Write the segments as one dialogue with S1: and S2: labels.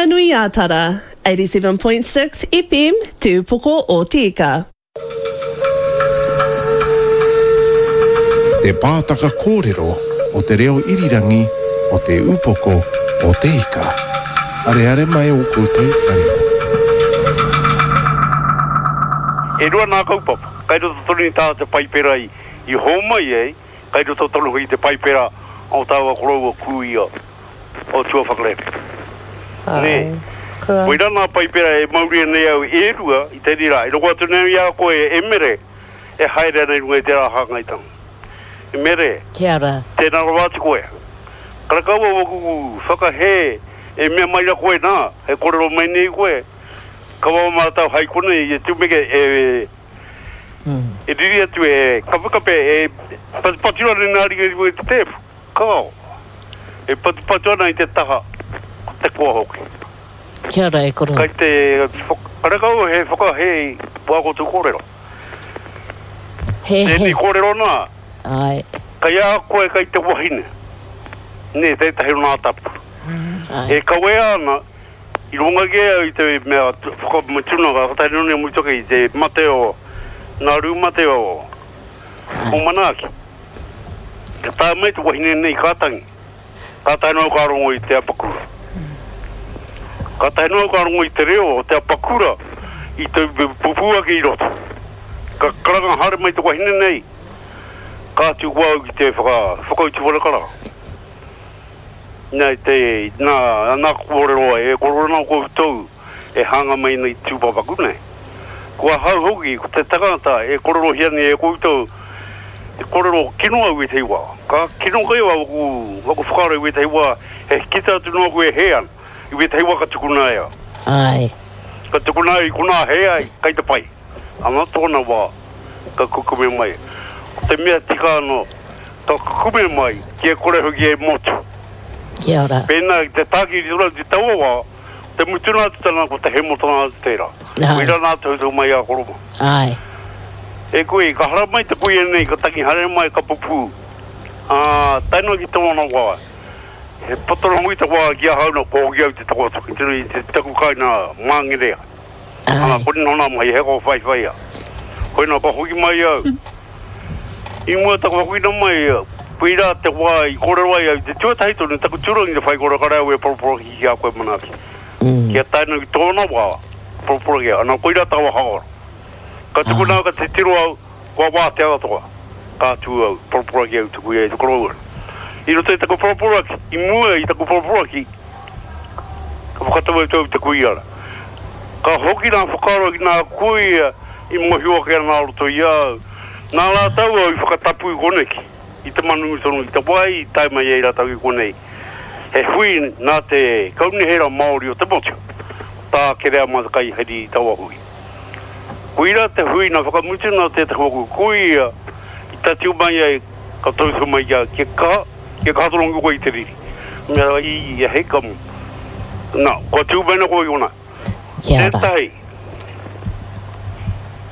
S1: Whanganui-ā-Tara, 87.6 FM, Te Upoko o Te Ika.
S2: Te Pātaka Kōrero o Te Reo Irirangi o Te Upoko o Te Ika. Areare mai ō koutou marino.
S3: E rua nā kaupapa, kai roto tonu i tā te Paipera i hōmai ai, kai roto tonu hoki i te Paipera o tāua koroua kūia o tuawhakarere. Nē. Koirā nā Paipera e mauria nei au e rua i tēnei rā, e rongo atu nei au i a koe e Mere e haere ana i runga i tērā hāngaitanga. E Mere,
S4: Kia ora.
S3: tēnā rawa atu koe. Karekau au aku whakahē e mea mai ra koe nā, e kōrero mai nei koe, kaua mātau hai konei e tumeke e e riri atu e kapekape e patupatu ana nā ringa i runga i te tēpu. Kao, e patupatu ana i te taha, ko te koa hoki.
S4: Kia ora e koro.
S3: Kai te, karekau he whakahē i wā koutou kōrero.
S4: He, he.
S3: Tēnei kōrero nā.
S4: Āe.
S3: Kai a koe kai te wahine, nē, tētahi o nā tapu.
S4: Āe.
S3: E kawea ana, i runga kē au i te mea whakamutunga, ka tae noa mutu ake i te mate o, nā rū mate o, o Manaaki. Ka tae mai te wahine nei ka tangi. Kātahi noa ka rongo i te apakura. Kātahi noa ka rongo i te reo o te apakura i te pupū ake i roto. Ka karanga haere mai te wahine nei, ka atu ko au ki te whaka, whakautu whare karanga. Nā te, nā, nā kōrero ai, e kōrero ana koutou e hanga mai nei tūpapaku nei. Ko ahau hoki, ko te tangata e kōrerohia nei e koutou, te kōrero kino au wētahi wā. Ka kino kai au aku, aku whakaaro i wētahi wā, he kite atu nōku e hē ana. I wētahi wā ka tukuna e au.
S4: Āe.
S3: Ka tukuna au i konā hē ai, kai te pai. Ana tōna wā, ka kukume mai. Ko te mea tika anō, ka kukume mai, kia kore hoki e motu.
S4: Kia ora.
S3: Pēnā ki te tākiri tonu atu i taua wā, Te mutunga atu tana ko te hemotanga atu tērā. Koirā nā tohutohu mai a Koroma.
S4: Āe.
S3: E kui, ka haramai te kuia nei, ka tangi haere mai, ka pupū. Ā, tae noa ki tōna wā. He poto noa hoki te wā ki ahau nā, kua hoki au te takoto ki te, te taku kāinga Māngerea. Ā, kore noa nā mahi, he kōwhaiwhaia. Koinā ka hoki mai au. I mua taku hokina mai, koirā te wā i kōrero ai au i te tuatahi tonu taku tūrangi te whaikōrero kare au e poroporoaki ki a koe manaaki. Kia tae noa ki tōna wā, poroporoaki au. Ana koirā taua haora. Ka tukuna au ka titiro au, kua wātea katoa. Ka tū au, poroporoaki au tuku i a i te koroua. I roto i taku poroporoaki, i mua i taku poroporoaki, ka whakatau atu au i te kuia rā. Ka hoki nā whakaaro ki nā kuia i mōhio ake ana a roto i a au. Nā rātou au i whakatapu i koneki, i te manungu tonu i te wai i tae mai ai rātou ki konei. He hui nā te Kaunihera Māori o te motu, tā Kereama te kaiheri i taua hui. Koira te hui nā whakamutu nā tētahi o aku kuia i tatū mai ai ka tautohu mai ki a kia kaha, kia kaha tonu koe i te riri. Mea i, i hei ka, nā, kua tū mai ana koe i konā.
S4: Kia ora.
S3: Tētahi,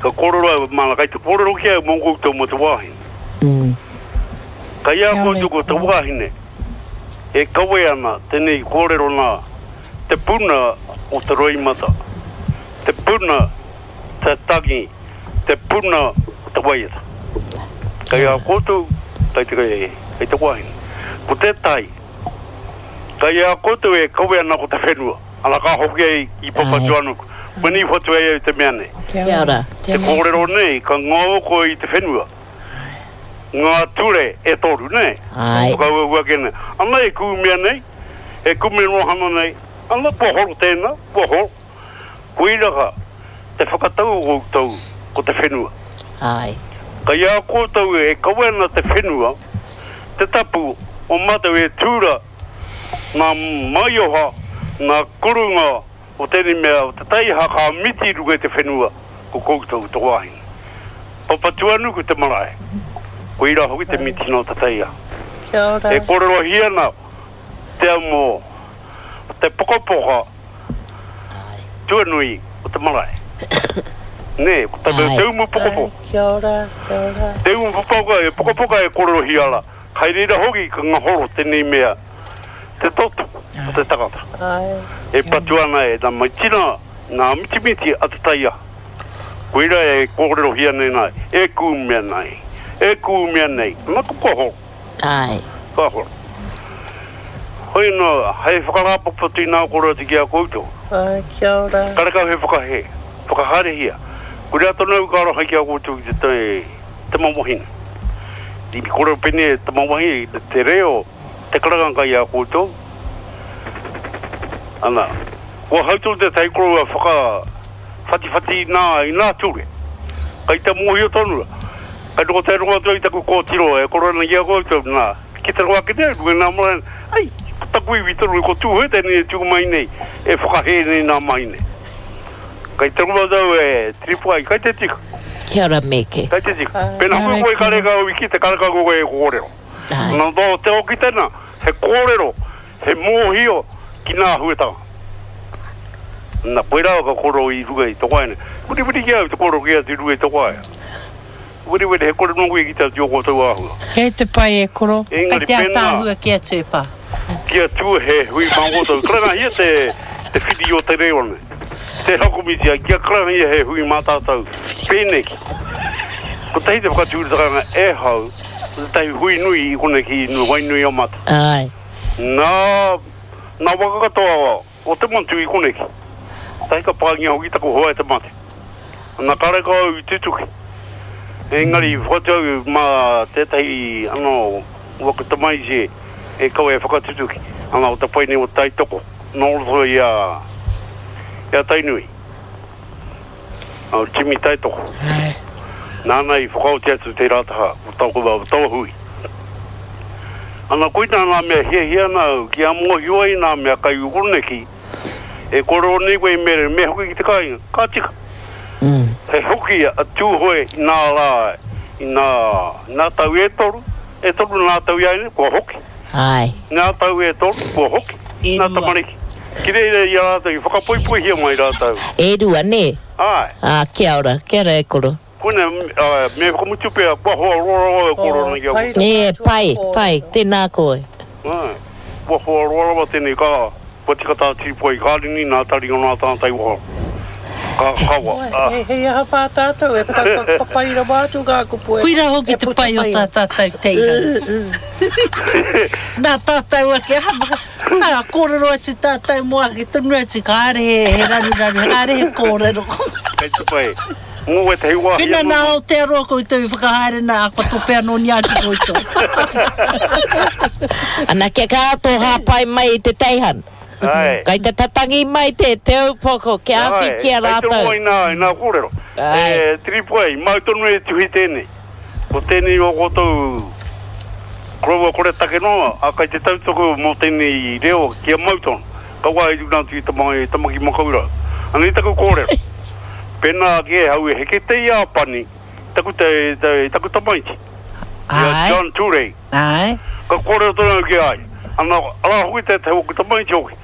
S3: ka kōrero au, māna, kai te kōrero ki au mō koutou mō te wāhine.
S4: Mm.
S3: Kai a koutou ko te wāhine, e kawe ana tēnei kōrero nā, te puna o te roimata, te puna te tangi, te puna o te waiata. Kai a koutou, kai te, kai te wāhine. Ko tētahi, Kai a koutou e kawe ana ko te whenua, ana ka hoki ai i Papatuanuku. Koinei i whatu ai au te mea nei.
S4: Kia ora.
S3: Te kōrero nei, ka ngao koe i te whenua. Ngā ture e toru, nē?
S4: Āe.
S3: Whakauaua ake nei. Ana e kūmea nei, e kume noa hana nei, ana kua horo tēnā, kua horo. Koira ka, te whakatau o koutou ko te whenua.
S4: Āe.
S3: Kai a koutou e kawe ana te whenua, te tapu o matou e tura nga maioha, nga kurunga o tenei mea o te taiaha ka miti i runga i te whenua, ko koutou te wahine. Papatuanuku te marae, koira hoki te mitina o te taiaha.
S1: Kia ora.
S3: E korerohia ana te amo o te pokapoka tuanui o te marae. Nē, ko te, te umu pokopoka.
S1: Kia ora, kia ora.
S3: Te umu pokopoka, e pokopoka e kōrerohia ara. Kai reira hoki ka ngahoro tēnei mea. te toto o te tangata. E patu ana e nā maitina, nā mitimiti a te taiaha. Koira e kōrerohia nei nā, e kūmea nei, e kūmea nei, ana ko kua horo.
S4: Āe.
S3: Kua horo. Hoi anō, hei whakarāpopoto i nā kōrero atu ki a koutou.
S5: Āe, kia ora.
S3: Karekau he whakahē, whakahaerehia. Koira tonu au ka aroha ki a koutou ki te tama wahine. I kōrero pēnei e tama wahine, te reo, te karanga kai a koutou. Ana, kua hau tonu tētahi koroua whaka whatiwhati i nā, i nā ture. Kai te mōhio tonu, kai noho te rongo atu ai taku kōtiro e koro ana ki a koutou, nā, ki te rongo ake nei, runga i nā marae, ai, ko taku iwi tonu, ko Tūhoe tēnei e tū mai nei, e whakahē nei nā mahi nei. Kai te rongo atu au e tiripu ai, kai te tika.
S4: Kia ora Meke.
S3: Kai te tika. Pēnā hoki koe karekau i kite, karekau koe e kōrero. Nā, nō te hoki tēnā, he kōrero, he mōhio ki nā āhuatanga. Nā, koirā ka kōrero i runga i te waeine. Weriweri ki a au te kōrero ki atu i runga i te waea. Weriweri, he kore nō koe ki te atu i ō koutou āhua.
S5: Kei te pai e koro.
S3: Engari
S5: Kei te
S3: pēnā.
S5: ataahua ki atu e pa.
S3: Ki atu he hui mā koutou. Karangahia te, te whiri o te reo nei. Te hakomiti ai, kia karangahia he hui mā tātou. Pēneki. Kotahi te whakatūratanga e hau. Ko tētahi hui nui i konei ki Wainuiomata.
S4: Āe.
S3: Nā, nā waka katoa o te motu i koneki. Tahi ka pāngia hoki taku hoa e te mate. Nā karekau au i tutuki. Engari i whakatau au mā tētahi anō o aku tamaiti e kawe e whakatutuki. Ana o te pai nei o Taitoko nō roto i a, i a Tainui. A Jimmy Taitoko. Nāna i whakaoti atu tērā taha o taku, o taua hui. Ana koinā ngā mea hiahia ana au kia mōhio ai nā mea kai koneki e kōrero nei koe me, me hoki ki te kāinga, ka tika. He hoki a Tūhoe i nā rā, i nā, nā tau e toru, e toru nā tau i a ia, kua hoki.
S4: Āe.
S3: Nā tau e toru, kua hoki.
S5: E
S3: Nā
S5: rua.
S3: tamariki. Ki reira i a rātou, i whakapoipoihia mai rātou.
S4: E rua, nē?
S3: Āe.
S4: Ā, kia ora, kia ora e koro.
S3: Koinā, me whakamutu pea, kua hoa roa rawa e koro ana ki a koutou.
S4: Ē, pai, pai, tēnā koe.
S3: Āe, kua hoa roa rawa tēnei, ka, kua tika tā Tīpua i Kārini, nā taringa nā tāna tai waha. Ka kawa, ā.
S5: Hei aha pā tātou, e papai rawa atu ngā kupu e
S6: Koirā hoki te
S5: puta
S6: pai o
S5: mai
S6: tā
S5: ai.
S6: tātou teina. Nā tātou ake, aha, kōrero atu tātou mō ake tonu atu, kāre he raruraru, kāre he kōrero.
S3: Kei te pai. Mō wētahi wāhi
S6: Pēnā
S3: anō.
S6: nā Aotearoa koutou i whakahaere nā, kua tope anō ni atu koutou.
S4: Ana kia kaha tō hāpai mai i te teihana.
S3: Āe.
S4: Kai te tatangi mai te te upoko kia āwhitia
S3: Āe, kei te
S4: rātou.
S3: rongo i nā, i nā kōrero.
S4: Āe.
S3: E, Tiripoai, mau tonu e tuhi tēnei. Ko tēnei o koutou koroua kore take noa, a kai te tautoko mō tēnei reo kia mau tonu. Kaua e runa atu i Tamaki Makaurau. Anei taku kōrero. Pēnā ake e hau e heke te Iāpani taku te, te, taku tamaiti, i a John Turei.
S6: Āe.
S3: Ka kōrero tonu au ki a ia. Ana, arā hoki tētahi o aku tamaiti hoki,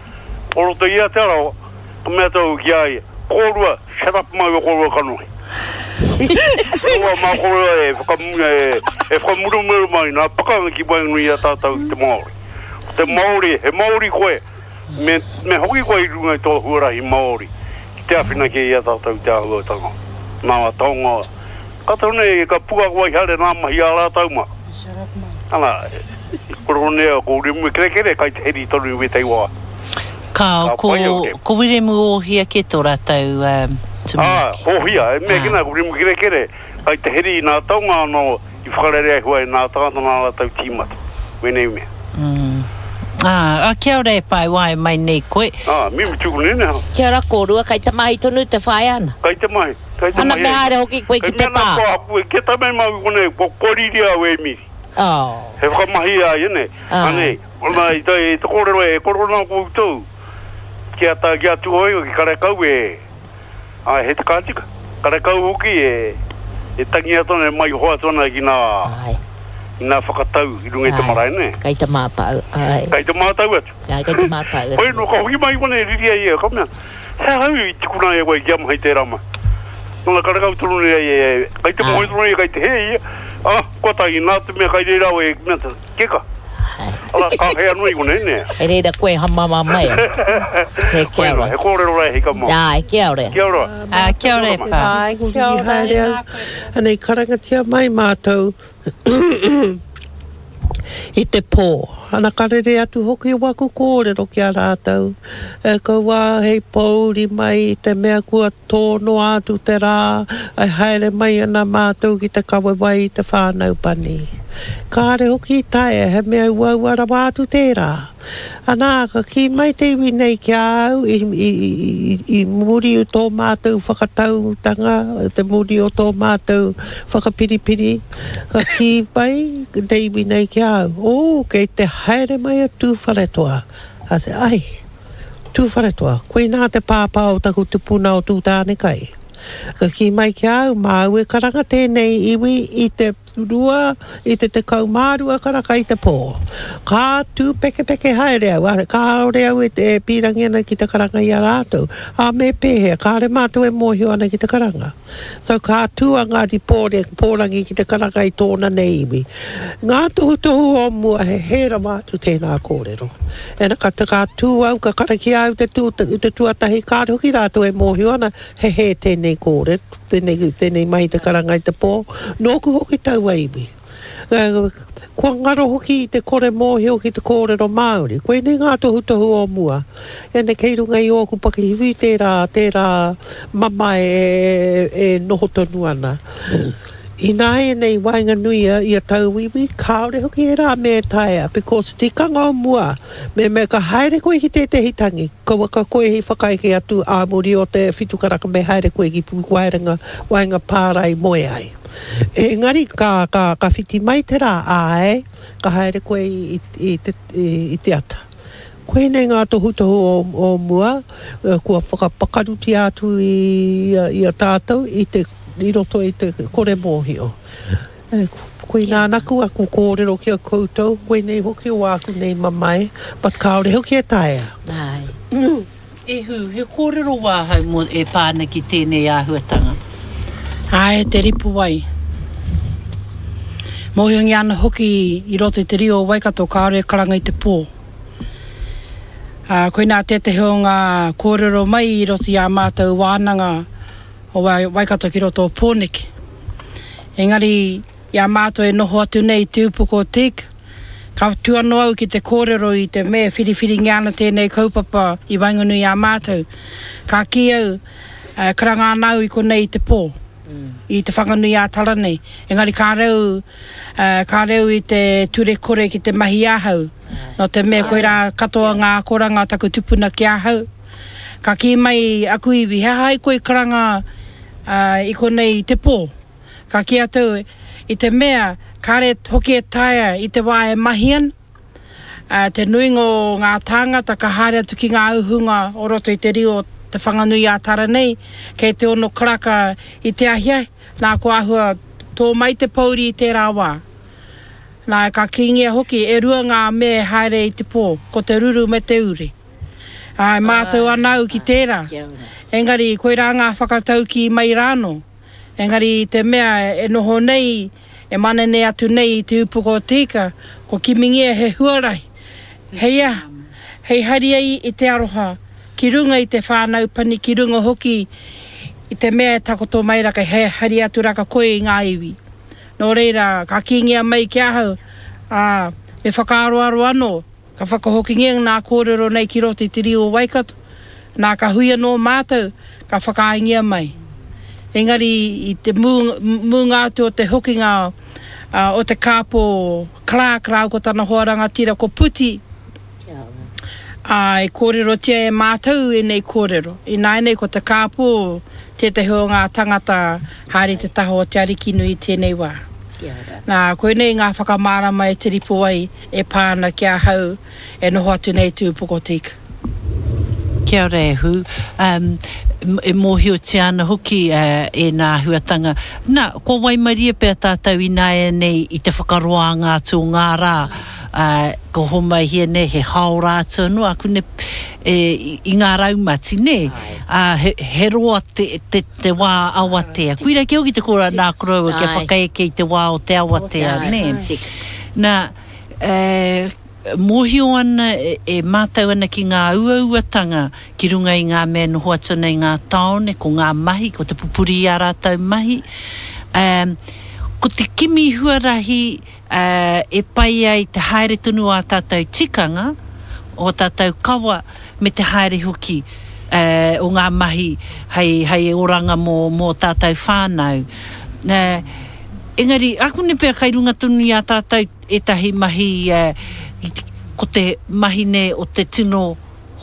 S3: o roto i a Te Arawa, ka mea atu au ki a ia, Kōrua, shut up mai o kōrua kanohi. Kaua mā kōrua e whakamu, e, e whakamurumuru mai nā pakanga ki waenganui i a tātou ki te Māori. Ko te Māori, he Māori koe, Me, me hoki koe i runga i tō huarahi Māori ki te āwhina kē i a tātou i te āhuatanga, nā taonga. Ka tau nei, ka puāwai haere nā mahi a rātou mā. Ana, koronea ko Wiremu Kerekere kai te heri tonu i wētahi wā.
S6: Kāo,
S3: Ka
S6: ko,
S3: pai au te.
S6: ko Wiremu Ōhia kē tō rātou
S3: Ā,
S6: tumuaki.
S3: Ōhia, e mea
S6: Ā.
S3: ki nā, ko Wiremu Kerekere kai te heri i nā taonga anō i whakarere ai hua e nā tāngata nā rātou tīmata, wēnei mea.
S6: Ā, ā, kia ora e pae wae mai nei koe.
S3: Ā, mimi tuku nene ha.
S4: Kia ora kōrua, kei te mahi tonu te whaea ana.
S3: Kei te mahi, kei te
S4: Ana
S3: mahi
S4: me
S3: e.
S4: haere hoki koe
S3: Kei
S4: ki te
S3: mea nā
S4: pā.
S3: kua hapu e kia tae mai māu i konei, kua kōriri au e Miri.
S4: Oh.
S3: He whakamahi a ia nei.
S4: Ā.
S3: Anei, ona i te, i te kōrero e koro ana koutou ki a tā, ki a Tūhoe ki karekau e, ā, he ka tika. Karekau hoki e, e tangi atu ana, e maiho atu ana ki nā,
S4: Āe.
S3: I ngā whakatau i runga i te marae, nē?
S4: Kei te mātau, āe.
S3: Kei te mātau atu.
S4: Āe, kei te mātau atu.
S3: Hoi nō, ka hoki mai konei riri ai ia, ka mea, he aha au i tukuna ai e koe kia mahi tērā mahi? Nōna karekau tonu nei ai e, kei te mōhio tonu ia, kei te hē ia, ā, kua tae, nā te mea kei reira au e mea, keka. Ara, ka hea nui konei, nē?
S4: Hei reira koe hamama mai ai. He kia ora.
S3: He kōrero rā e hika mā.
S4: Āe, kia ora.
S3: Kia ora.
S5: Ā, kia ora e pā.
S6: Āe, kia ora.
S5: Haere au. Anei, karangatia mai mātou i te pō. Ana ka rere atu hoki waku kōrero ki a rātou. E kaua hei pōuri mai i te mea kua tō noa atu te rā, e haere mai ana mātou ki te kawe wai i te whānau pani. Kāre hoki i taea, he mea uaua rawa atu tērā. Anā, ka kī mai te iwi nei ki a au i, i, i, i muri o tō mātou whakatautanga, te muri o tō mātou whakapiripiri, ka kī mai te iwi nei ki a au, Ō, kei te haere mai a Tūwharetoa. I said, Ai, Tūwharetoa, koinā te pāpā o taku tupuna o Tūtānekai. Ka kī mai ki a au, māu e karanga tēnei iwi i te rua, i te 12 karaka i te pō. Ka tūpekepeke haere au, ā, kāore au e, e pīrangi ana ki te karanga i a rātou. Ā, me pēhea, kāore mātou e mōhio ana ki te karanga. So, ka tū a Ngāti Pōre, Pōrangi ki te karanga i tōna nei iwi. Ngā tohutohu o mua, he hē rawa atu tēnā kōrero. Ena, ka, ka tū au, ka karakia au te, tū, te tuatahi, kāore hoki rātou e mōhio ana, he hē tēnei kōrero. Tēnei, tēnei mahi te karanga i te pō, nōku hoki taua iwi. Kua ngaro hoki i te kore mōhio ki te kōrero Māori. Koinei ngā tohutohu o mua. Ēnei kei runga i ōku pakihiwi tērā, tērā mamae e, e noho tonu ana. Ināianei waenganui i a tauiwi, kāore hoki ērā mea e taea, because tikanga o mua, Mehemea ka haere koe ki tētehi tangi, kauaka koe i whakaeke atu ā muri o te whitu karaka me haere koe ki Pukuwaerenga, waenga pārae moe ai. Engari ka, ka, ka whiti mai te rā, āe, ka haere koe i, i, te, i te ata. Koinei ngā tohutohu o, o mua, kua whakapakarutia atu i, i a tātou i te, i roto i te kore mōhio. Koinā anaku aku kōrero ki a koutou, koinei hoki o āku nei mamae, but kāore hoki e taea.
S6: E Hū, he kōrero wāhau mō e pā ana ki tēnei āhuatanga?
S7: Āe, te ripo wai. Mōhiongia ana hoki i roto i te riu o Waikato kāore e karanga i te pō. Ā, koinā tētehi o ngā kōrero mai i roto i ā mātou wānanga o Waikato ki roto o Pōneke. Engari, i a mātou e noho atu nei i te upoko o Te Ika, ka tū anō au ki te kōrero i te mea e whiriwhiringia ana tēnei kaupapa i waenganui i a mātou. Ka kī au, karanga ana au i konei i te pō, i Te Whanganui-ā-Tara nei. Engari kāre au, kāre au i te ture kore ki te mahi ahau, nō te mea koirā katoa ngā akoranga a taku tupuna ki ahau. Ka kī mai aku iwi, he aha ai koe i karanga i konei i te pō? Ka kī atu, i te mea, kāre hoki e taea i te wā e mahi ana, te nuinga o ngā tāngata ka haere atu ki ngā uhunga o roto i te riu o Te Whanganui-ā-Tara nei, kei te ono karaka i te ahiahi, nā kua āhua tō mai te pōuri i tērā wā. Nā, ka kīngia hoki, e rua ngā mea e haere i te pō, ko te ruru me te ure. Ā, e mātau ana au ki tērā. Engari, koirā ngā whakataukī mai rānō. Engari i te mea e noho nei, e manene atu nei i te upoko o te ika, ko kimingia he huarahi, hei aha, hei hari ai i te aroha ki runga i te whānau pani, ki runga hoki i te mea e takoto mai raka, he hari atu raka koe i ngā iwi. Nō reira, ka kīngia mai ki ahau, ā, me whakaaroaro anō, Ka whakahokingia ngā kōrero nei ki roto i te riu o Waikato, nā ka hui anō mātou, ka whakaaengia mai. Engari i te mūnga atu o te hokinga o te kāpō Clark rāua ko tana hoa rangatira ko Puti, ā, i kōrerotia e mātou ēnei kōrero. Ināianei ko te kāpō tētahi o ngā tangata haere i te taha o Te Arikinui i tēnei wā. Nā, koinei ngā whakamārama e Te Ripo ai. E pā ana ki ahau e noho atu nei te upoko o te ika.
S6: Kia ora e Hū. Um, e mōhiotia ana hoki uh, ēnā āhuatanga. Nā, kua waimarie pea tātou ināianei i te whakaroanga atu o ngā rā. Uh, ko homaihia nei he haora atu anō akune e, i, i ngā raumati, nē? Ā, he, he roa te, te, te wā awatea. Koira kē hoki te kōrero nā koroua kia whakaeke i te wā o te awatea, nē? Nā, e, mōhio ana, e mātau ana ki ngā uauatanga ki runga i ngā mea e noho atu ana i ngā tāone, ko ngā mahi, ko te pupuri i ā rātou mahi. Ko te kimi huarahi e pai ai te haere tonu o ā tātou tikanga, o ā tātou kawa, me te haere hoki o ngā mahi hei oranga mō ō tātou whānau. Engari, ākune pea kai runga tonu i a tātou ētahi mahi, ko te mahi nei o te tino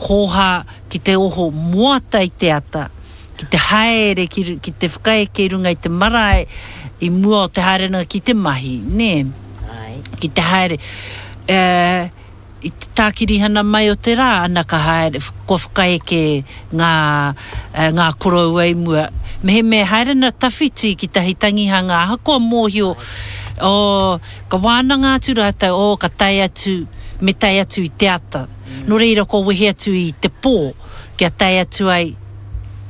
S6: hōhā ki te oho moata i te ata, ki te haere, ki te whakaeke i runga i te marae i mua o te haerenga ki te mahi, nē? Ki te haere. I te tākirihana mai o te rā, ana ka haere, kua whakaeke ngā, ngā koroua i mua. Mehemea e haere ana tawhiti ki tahi tangihanga, ahakoa mōhio, oh, ka wānanga atu rātou, oh, ka tae atu, me tae atu i te ata. Nō reira kua wehe atu i te pō, kia tae atu ai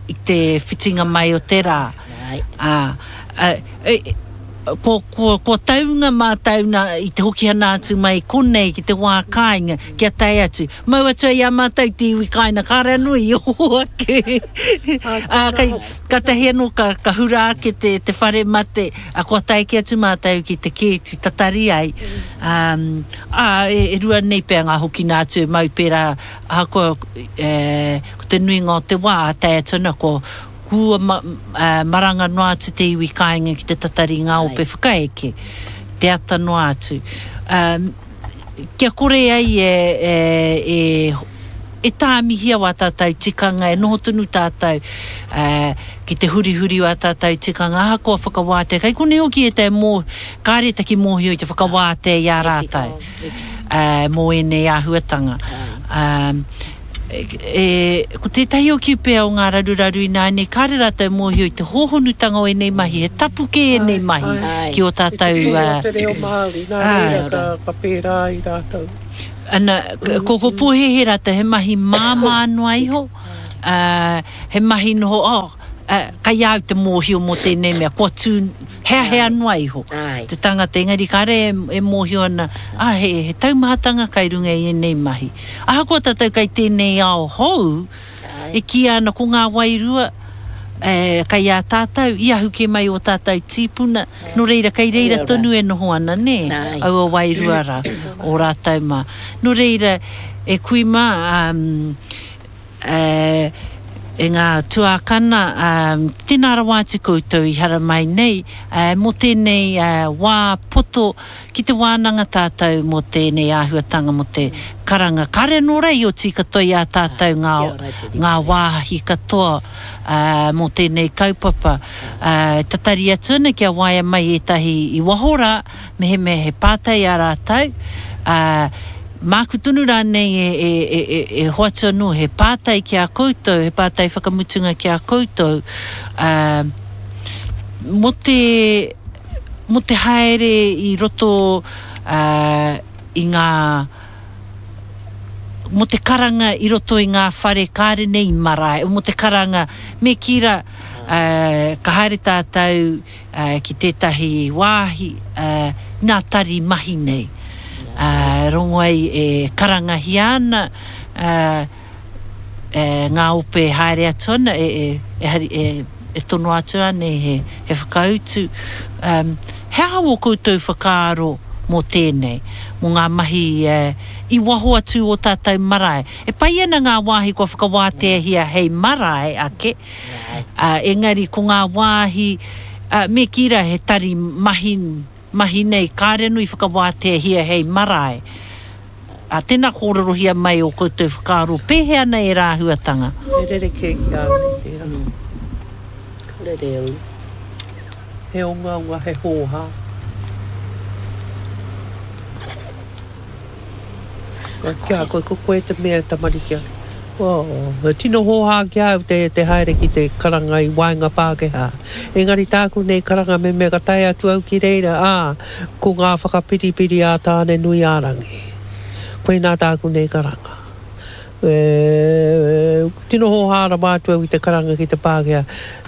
S6: i te whitinga mai o te rā. Ā, e, Kua, kua, kua taunga mātou nā, i te hokihana atu mai konei ki te wā kāinga, kia tae atu. Mau atu ai i a mātou te iwi kāinga, kāre anō i oho ake. Ā, kei, kātahi anō ka, ka hura ake te, te whare mate, ā, kua tae kē atu mātou ki te kēti tatari ai. Ā, ā, e, e rua nei pea ngā hokina atu e mau pērā, ahakoa, e, ko te nuinga o te wā, tae atu ana kua, Kua maranga noa atu te iwi kāinga ki te tatari i ngā ope whakaeke, te ata noa atu. Kia kore ai e tāmihia wā tātou tikanga, e noho tonu tātou ki te hurihuri o ā tātou tikanga, ahakoa whakawātea. Kei konei hoki ētahi mō, kāre taki mōhio i te whakawātea i a rātou mō ēnei āhuatanga. E, ko tētahi o Kiupea o ngā raruraru ināianei, kāre rātou mōhio i te hōhonutanga o ēnei mahi, he tapu kē ēnei mahi ki ō tātou.
S5: I te pēhea o te reo Māori, nā reira ka, ka pērā ai rātou.
S6: Ana, ko, ko pōhēhē rātou, he mahi māmā noa iho, ā, he mahi noho, oh, ā, kei a au te mōhio mō tēnei mea, kua tū, heahea noa iho te tangata, engari kāre e mōhio ana, ā, he, he taumahatanga kai runga i ēnei mahi. Ahakoa tātou kei tēnei ao hou, e kīia ana ko ngā wairua kei a tātou, i ahu kē mai ō tātou tīpuna, nō reira kei reira tonu e noho ana, nē, aua wairua rā, o rātou mā. Nō reira, e kui mā, e ngā tuākana, tēnā rawa atu koutou i haramai nei, mō tēnei wā poto Ki te wānanga tātou mō tēnei āhuatanga mō te karanga. Kāre anō rā i oti katoa i a tātou ngā, ngā wāhi katoa mō tēnei kaupapa. E tatari atu ana kia waea mai ētahi i waho rā, mehemea he pātai ā rātou, māku tonu rānei e, e, e, e, e hoatu anō he pātai ki a koutou, he pātai whakamutunga ki a koutou, mō te, mō te haere i roto i ngā, mō te karanga i roto i ngā whare kāre nei i marae, mō te karanga, me kī rā, ka haere tātou ki tētahi wāhi, ngā tari mahi nei, rongo ai e karangahia ana, e, ngā ope e haere atu ana, e, e, e, hari, e, e tonoa atu rānei he, he whakautu. Um, he aha wō koutou whakaaro mō tēnei, mō ngā mahi e, i waho atu o tātou marae? E pai ana ngā wāhi kua whakawāteahia hei marae ake, ā, engari ko ngā wāhi, ā, me kī rā he tari mahi, mahi nei, kāre anō i whakawāteahia hei marae. Ā, tēnā kōrerohia mai ō koutou whakaaro, pēhea ana ērā āhuatanga?
S5: He rerekē ki a au nei tērā.
S4: Ka rere au.
S5: He ongaonga, he hōhā. Ki a koe, ko koe te mea e tamariki ana. Oh, he tino hōhā ki a au te, te haere ki te karanga i waenga Pākehā. Engari tāku nei karanga me mea ka tae atu au ki reira, ā, Ko ngā whakapiripiri a Tāne-nui-ā-rangi. Koinā tāku nei karanga. E, Tino hōhā rawa atu au i te karanga ki te Pākehā.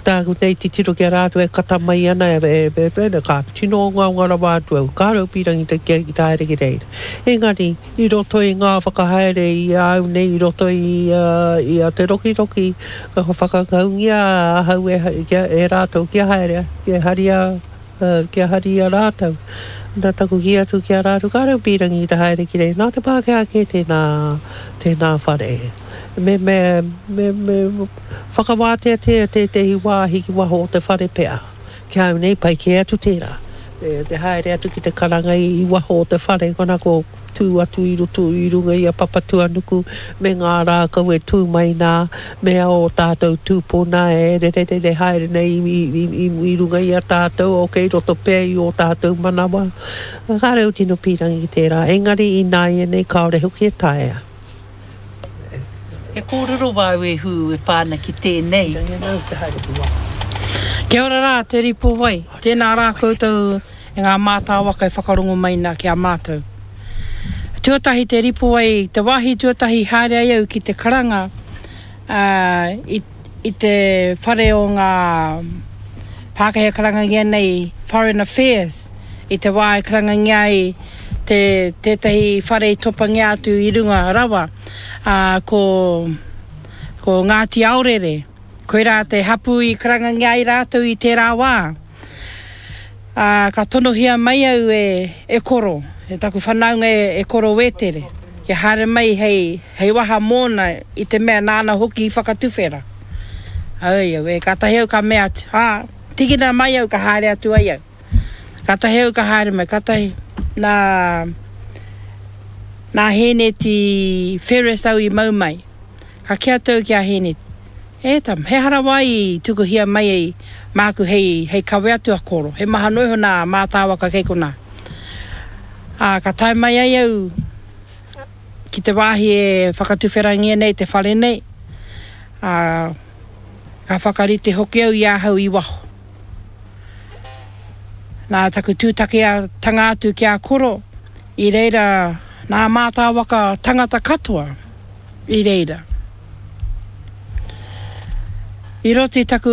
S5: Tāku nei titiro ki a rātou e kata mai ana, e, e, e, ka tino ongaonga rawa atu au. Kāore au pīrangi te, ki te haere ki reira. Engari, i roto i ngā whakahaere i a au nei, i roto i, i a Te Rokiroki, ka whakangaungia ahau e, kia, e rātou kia haere, kia haria Kia hari i a rātou. Nā taku kī atu ki a rātou, kāre au pīrangi ki te haere ki reira, nā te Pākehā kē tēnā, tēnā whare. Me, me, me, me whakawāteatea tētehi wāhi ki waho o te whare pea. Ki a au nei, pai kē atu tērā. Te, te haere atu ki te karanga i, i waho o te whare, konā ko tū atu i roto i runga i a Papatuanuku me ngā rākau e tū mai nā, me ō tātou tūpuna e rererere haere nei i runga i a tātou, o kei roto pea i ō tātou manawa. Kāre au tino pīrangi ki tērā, engari ināianei kāore hoki e taea.
S6: He kōrero wāu e Hū e pā ana ki tēnei.
S7: Kia ora rā Te Ripowai, tēnā rā koutou e ngā mātāwaka e whakarongo mai nā ki a mātou. Tuatahi Te Ripowai, te wāhi tuatahi i haere ai au ki te karanga i, i te whare o ngā Pākehā e karangangia nei Foreign Affairs, i te wā e karangangia ai te, tētahi whare i topangia atu i runga rawa, ā, ko, ko Ngāti Aorere. Koirā te hapū i karangangia ai rātou i tērā wā. Ā, ka tonohia mai au e, e Koro, e taku whanaunga e, e Koro Wētere, kia haere mai hei, hei waha mōna i te mea nāna hoki i whakatuwhera. Oi, auē, kātahi au ka mea atu, ā, tīkina mai au ka haere atu ai au. Kātahi au ka haere mai, kātahi, nā, nā Hēneti Ferris au i mau mai. Ka kī atu au ki a Hēneti, E tama, he aha rawa i tukuhia mai ai māku hei, hei kawe atu a Koro, he maha noa iho nā mātāwaka kei konā. Ā, ka tae mai ai au ki te wāhi e whakatuwherangia nei te whare nei, ā, ka whakarite hoki au i ahau i waho. Nā taku tūtakiatanga atu ki a Koro, i reira nā mātāwaka tangata katoa i reira. I roto i taku.